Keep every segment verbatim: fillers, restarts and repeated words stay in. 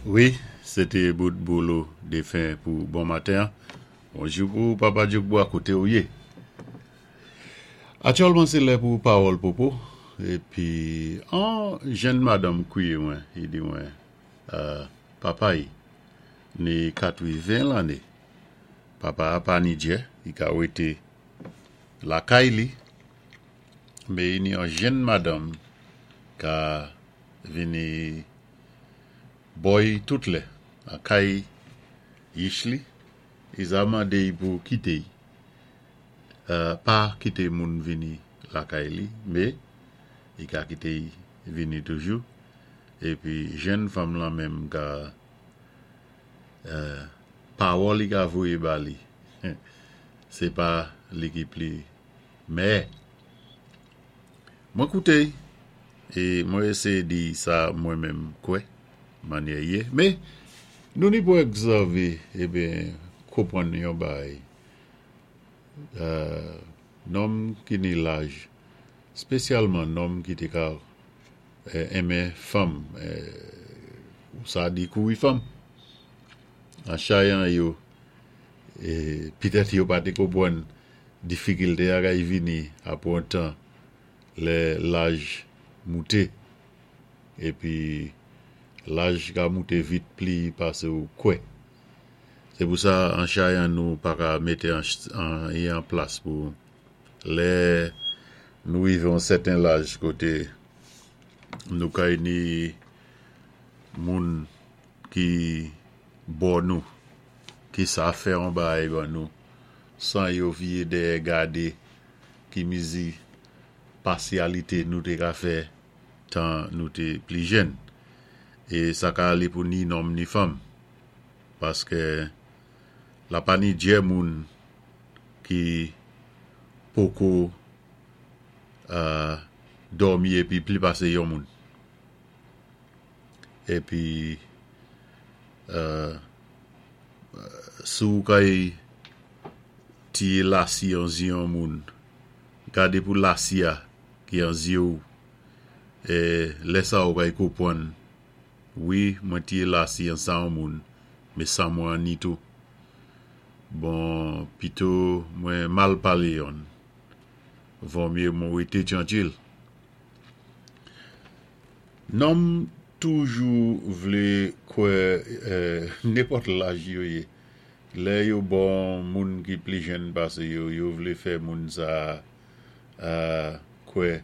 Wi, sé té bout Bolo défen pou bon maten. Bonjou pou Papa Djokbwa koté ou yé. Aktyèlman sé lè pou pawòl popo épi an jenn madanm kwiyé mwen, i di mwen euh, papa i ni katwiven lanné. Papa a pa ni djè, i ka wété lakay li, mé i ni an jenn madanm ka vini bò-y tout lè an kay yich li, i sa mandé-y pou kité-y. Euh, pa kité moun vini lakay li, mé i ka kité-y vini toujou. Épi jenn fanm lan menm ka euh, pawòl i ka voyé ba li. Sé pa li ki pli mèyè. Mwen kouté-y é mwen éséyé di sa mwen menm kwè mannyè yé. Mé nou ni pou ègzèvé ébyen konpwann yon bagay. Euh, nonm ki ni laj, spésyalman nonm ki té ka enmen fanm, ou sa di kouri fanm. An chayan yo, é pitèt yo pa té konpwann difikilté a kay vini apwé an tan lè laj mouté. Épi laj ka mouté vit pli pasé ou kwè. Sé pou sa an chayan nou pa ka mété anyen an plas pou lè nou wivé an sèten laj koté nou kay ni moun ki bò nou, ki sa fè an bagay ban nou, san yo viyé dèyè gadé ki mizi pasyalité nou té ka fè tan nou té pli jenn. É sa ka alé pou ni nonm ni fanm. Paské la pa ni djè moun ki poko euh, dòmi épi pli pasé yon moun. Épi euh, si ou kay tiyé lasi an zyé an moun, gadé pou lasi a ki an zyé ou, é lè sa ou kay konpwann, wi mwen tiyé lasi an san an moun, mé san mwen an ni tou. Bon, pito mwen mal palé yonn, vo myé mwen wété tyankil. Nonm toujou vlé kwè euh, nenpòt laj yo yé. Lè yo bò moun ki pli jenn pasé yo, yo vlé fè moun sa euh, kwè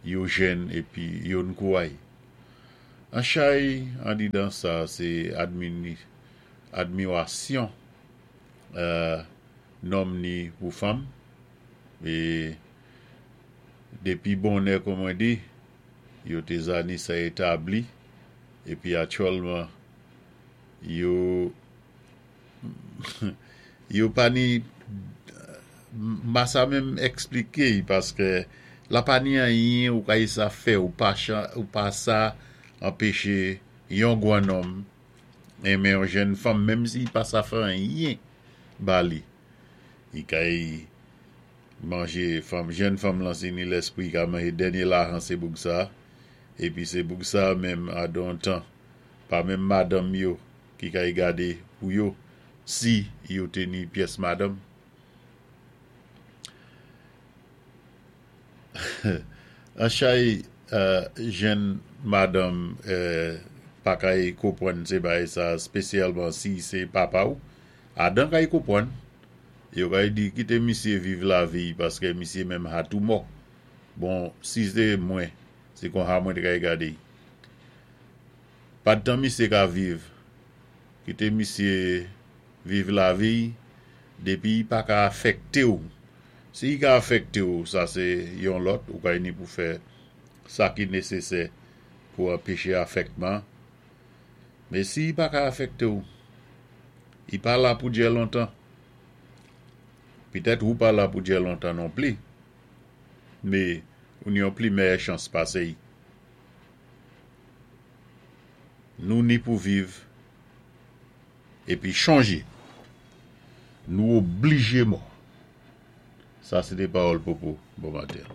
yo jenn épi yo nkouway. An chay andidan sa sé admini, admirasyon euh, nonm ni pou fanm. É dépi bonnè kon mwen di, yo té za ni sa établi épi aktyèlman yo yo pa ni ma sa menm èkspliké paské la pa ni anyen ou kay sa fè ou pa chan, ou pa sa anpéché yon gwan nonm enmen yon jenn fanm menm si pa sa fè anyen ba li. I kay manjé fanm, jenn fanm lan si ni lèspwi ka manjé dènyé lajan sé boug sa, épi sé boug sa menm a don tan, pa menm madanm yo ki kay gadé pou yo, si yo té ni pyès madanm. An chay euh, jenn madanm euh, pa kay konpwann sé bagay sa, spésyalman si sé papa ou, adan kay konpwann, yo kay di kité misyé viv lavi paské misyé menm ha tou mò. Bon, si sé mwen, sé kon ha mwen té kay gadé. Padtan misyé ka viv, kité misyé viv lavi, dépi i pa ka afèkté ou. Si i ka afèkté ou, sa sé yon lòt, ou kay ni pou fè sa ki nésésè pou anpéché afèkman. Mé si i pa ka afèkté ou, i pa la pou djè lontan. Pitèt ou pa la pou djè lontan non pli, mé ou ni yon pli mèyè chans pasé-y. Nou ni pou viv épi chonjé. Nou oblijé mò. Sa sé té pawòl popo bon maten.